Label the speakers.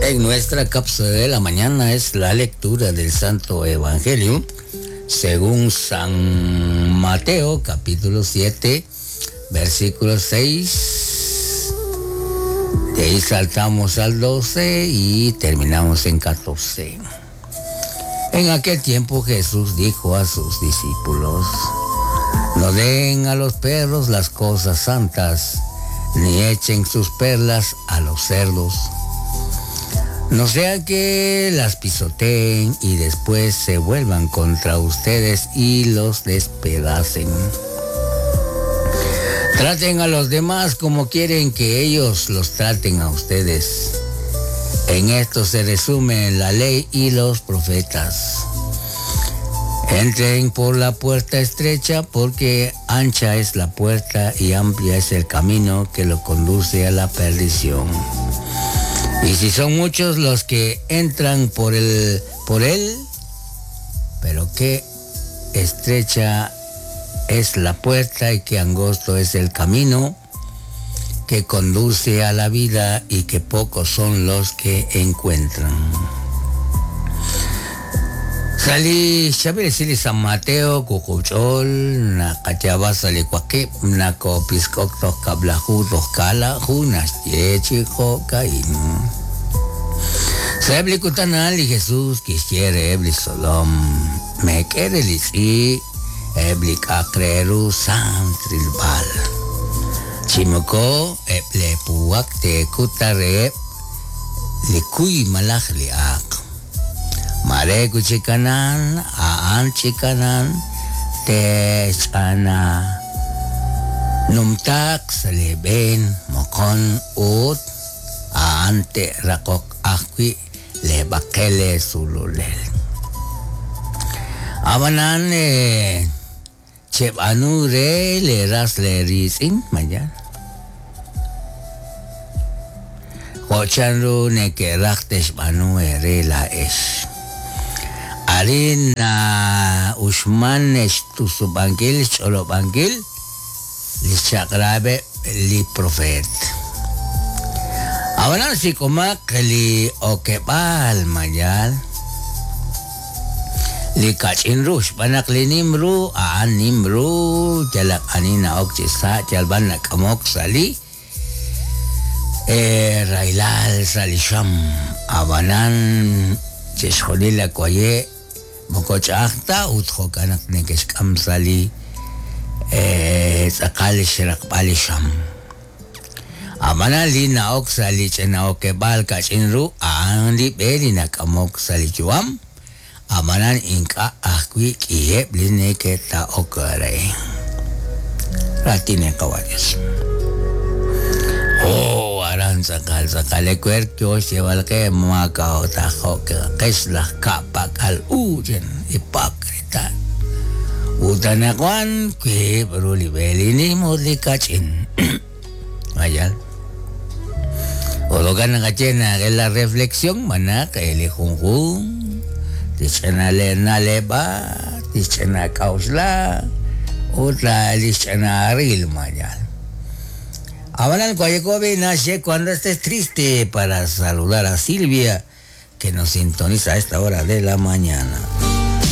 Speaker 1: En nuestra cápsula de la mañana es la lectura del Santo Evangelio según San Mateo, capítulo 7, versículo 6. De ahí saltamos al 12 y terminamos en 14. En aquel tiempo Jesús dijo a sus discípulos, no den a los perros las cosas santas, ni echen sus perlas a los cerdos. No sea que las pisoteen y después se vuelvan contra ustedes y los despedacen. Traten a los demás como quieren que ellos los traten a ustedes. En esto se resume la ley y los profetas. Entren por la puerta estrecha porque ancha es la puerta y amplia es el camino que lo conduce a la perdición. Y si son muchos los que entran por él, pero qué estrecha es la puerta y qué angosto es el camino que conduce a la vida y que pocos son los que encuentran. Sali xabel sili San Mateo kukuchol nakachaba sali kwakip nako piskok kablahu kala junas yechijo kain. Sebli kutanal li Jesús quisiere ebli solom me quere li ebli kakreru santrilbal. Chimoko eble puak te kutare li kuy malaj li ak. Mare kuchikanan, aan chikanan, te chana. Numtak saleben mokon ut aan te rakok akwi le bakele sululel. Abanan chebanu re le ras le risin mayan. Hochanru ne ke raktesh banu ere la esh. Arin na ushman tusubangil cholobangil li chakrabe li profet. Ahora si comak li okebal mayal li kachin rush banak li nimru aan nimru jalak anina ok chisa jalban nakamok sali railal salisham abanan chesholila koye mokochakta utjokanak nekeshkam sali tzakal shrakbalisham abanan li naok sali chenaokebal kachinru aan li beli nakamok sali chuam amanan inka akwi kiep li neketa okare ratine kawajes. Oh, aran sakal sakal ekwer kyo lleval que makao tajo que kesla kapakal uyen hipócrita. Utanakuan que bruli ni mudlikachin. Vaya. Ologan kachena que la reflexión manak el junjun tichena le naleba tichena kausla otra tichena aril mayal. Ahora el nace cuando estés triste para saludar a Silvia que nos sintoniza a esta hora de la mañana.